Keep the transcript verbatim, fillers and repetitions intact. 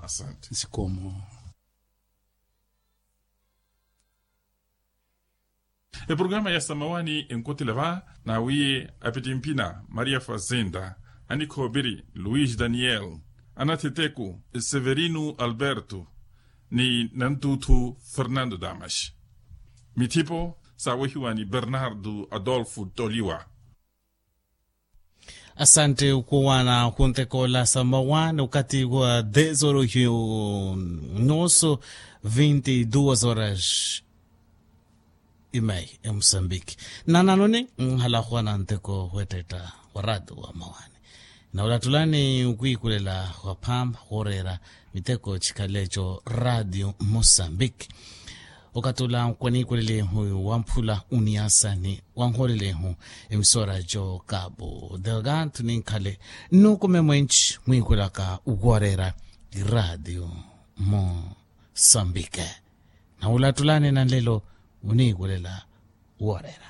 Asante. Nsikoomo. Eprogramu ya samawani enkotela va nawiye apitimpina maria fazenda, anikhoopiri luis daniel, anatheteku severino alberto, ni nantuuthu fernando damas. Mithipo saawehiwa ni bernardo adolfo toliwa. Asante okhuwana khuntekoola samawa ni okathi wa dez horas yu noso, vinte e duas horas. Imai emusambiki nananoni nhala khwana nteko khwettetta wa radio wa mawani. Nawulattulani okwiikulela khwaphamba khooreera miteko chikhalecho radio musambiki. Okattula nkwaniikulela ehu wamphula uniyasani wanholela ehu emisora jo kapu delgado ninkhale nnukume mwenci mwiikulaka wooreera radio musambiki. Nawulattulani nanlelo muniikulela wooreera.